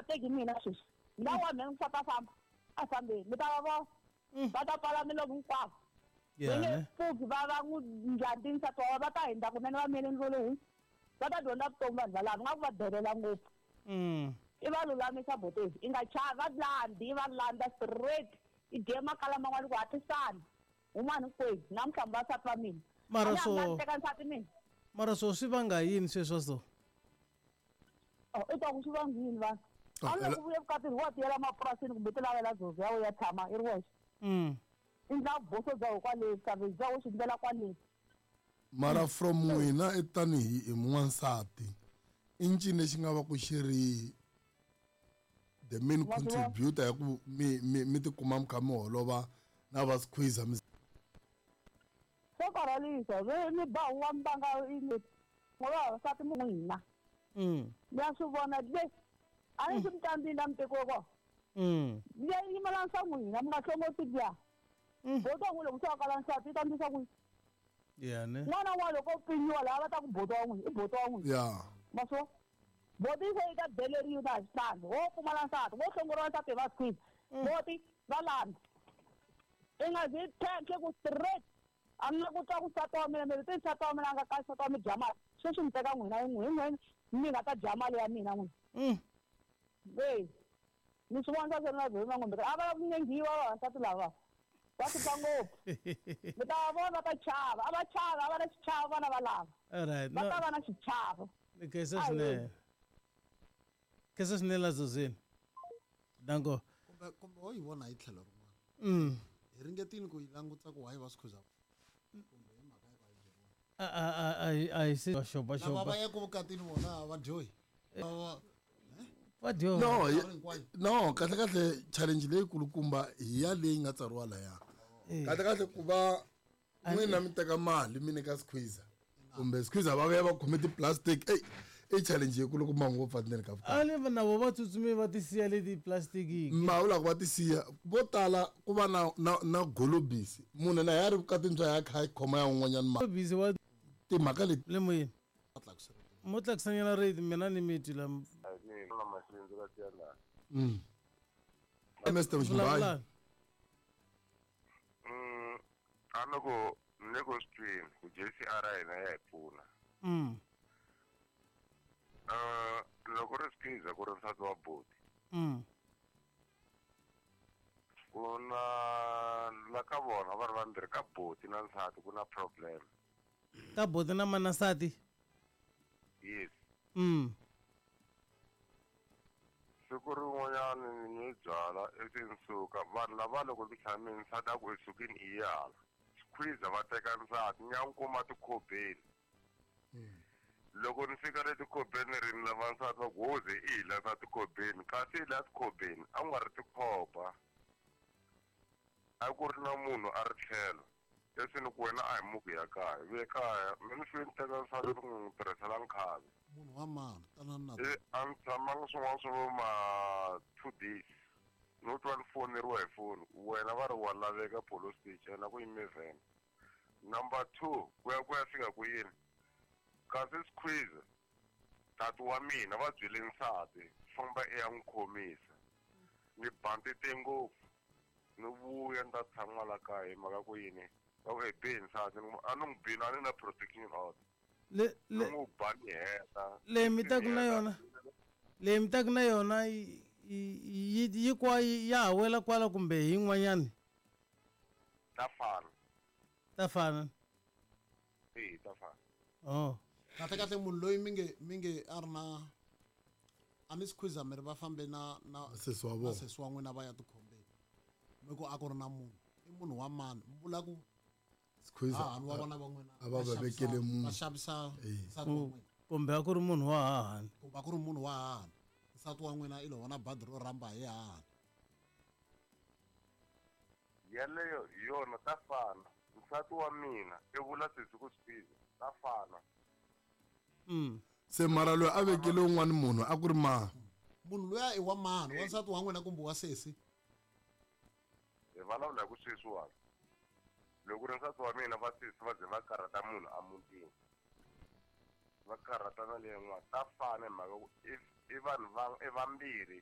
teki mina sweswi la wa mina nsati a famba a fambeni mi ta va vona va ta pfala milomu hinkwavo va nge pfuki va va n'wi ndlandi nsati wa va ta hindza kunene va mele ndlulu hu va ta dyondza vutomi vanhu valava nga ku va delela ngopfu i va lulamisa botezi i nga chavi va landi i va landza straight i dye makala man'wana ku hatlisana humani hinkwenu namuntlha mi vasati va mina mara so teka nsati mina mara so swi vanga yini sweswo so oh, i ta ku swi vanga yini vanhu a ni loko vuye vukatini wa tiyela mapurasini kumbe ti lavela zozo ya ya tshama i ri wexe i ndla vuboso bya ho kwale savage bya ho swi ndlela kwale mara from n'wina i tanihi hi n'wansati i ncini lexi nga va ku xi ri the main contributor ya ku mi mi mi tikuma mi kha mi holova na va squeezer mi swo karhalisa mi ba huwa mi vanga ngoba vavasati mi n'wina mi ya swi vona le a ni swi mi tlambini la mi tekiwe kona mi ya yimela swa n'wina mi nga hlongoti liya boti wa n'wina loko se wa kala nsati yi ta ndlisa ku yini ne n'wana wa loko u pinyiwa laha va ta ku boti wa n'wina i boti wa n'wina ya ma swo boti se yi ta beleriwa na hi switlhangu wo pfumala nsati wo hlongoriwa nsati hi va squeeze boti va landza i nga zi tlhentlhe ku straight a ni la ku twa ku nsati wa mina mi ri nsati wa mina a nga kahle nsati wa mi dya mali sweswi mi teka n'wina hi n'wina hi n'wina mi nga ta dya mali ya mina n'wina e ni swi vona swa na byona ngombe a va la ku nyengiwa vavasati lava va hlupha ngopfu mi ta va vona va ta chava a va chavi a va na xichavo vana va lava alright va ta va na xichavo ni khensa swinene khensa swinene la zozini danko kumbe kumbe ho yi vona hi tlhelo rin'wana hi ringetile ku yi langutisa ku why va swi khuza kumbe hi mhaka ya ku a yi byeriwa a a a a hi a hi se lava xopaxopa va yaka vukatini vona va dyohi va va dyoha no Minkarhi hinkwayo. no kahle kahle challenge leyi kulukumba hi ya leyi nga tsariwa laya kahle kahle ku va n'wina mi teka mali mi nyika squeezer kumbe squeezer va vuya va khome ti-plastic ey i challenge yi kulukumba ngopfu atineni ka vukati a ni na vo va tsutsumi va ti siya leti plastic mavula ku va ti siya vo tala ku va na na na golobisi munhu na ya ri vukatini bya ya kha yi khoma ya un'wanyana mali busy wa timhaka leti le moyeni mo tlakusanyana rate mina ni mi twi la na maxindzu ka tiyana mr mximbayi vulavulani a ni ku ni ku swi twini ku JCR ya hina ya hi pfuna loko ri squeeze ku ri nsati wa boti ku na la ka vona va ri vambirhi ka boti na nsati ku na problem ka boti na mana nsati yes siku rin'wanyana ni nwe byala ivi ni suka vanhu lava loko ni tshamile nsati a ku esukini i yala squeeze va teka nsati ni ya n'wi kuma tikhobeni loko ni fika le tikhobeni ri ni lava nsati va ku hoze i hi lava tikhobeni kasi hi la tikhobeni a ku nga ri tikhoba a ku ri na munhu a ri tlhelo leswi ni ku wena a hi muku ya kaya vuye kaya mi ni fike ni teka nsati ni n'wi tirhisela nkhavi munhu wa mani tanani na i a ni tshamanga swin'wana swo vo ma 2 days no twa ni foneriwa hi foni wena va ri wa laveka police station ena ku yime van number 2 ku ya ku ya fika ku yini kasi squeeze tati wa mina va byele nsati famba i ya n'wi khomisa ni bandite ngopfu ni vuya ni ta tshama la kaya hi mhaka ku yini va ku e be nsati ni ku, a ni n'wi bini a ni na protection order le ni le n'wi ba ni heta leyi mi taku na yona leyi mi taku na yona yi yi kwa ya ha wela kwala kumbe hi yin'wanyani ta fana ta fana e ta fana oh kahle kahle munhu loyi mi nge mi nge a ri na a ni squeeze mi ri va fambe na na Sesi wa na vona. sesi wa n'wina va ya tikhombeni mi ku a ku ri na munhu i munhu wa mani mi vula ku squeezer hahani wa vona va n'wina a va va vekele munhu. va xavisa nsati wa n'wina kumbe a ku ri munhu wa hahani kumbe a ku ri munhu wa hahani nsati wa n'wina i lo vona badi ro rhamba hi hahani yeleyo hi yona ta fana nsati wa mina i vula sesi ku squeeze ta fana se mara loyi a vekele un'wana munhu a ku ri mani munhu luya i wa mani wa nsati wa n'wina kumbe wa sesi hi vulavula hi ku sweswiwani loko ri nsati wa mina va sesi va ze va karhata munhu emutini va karhata na leyi n'wana ta fana hi mhaka ku i vanhu va i vambirhi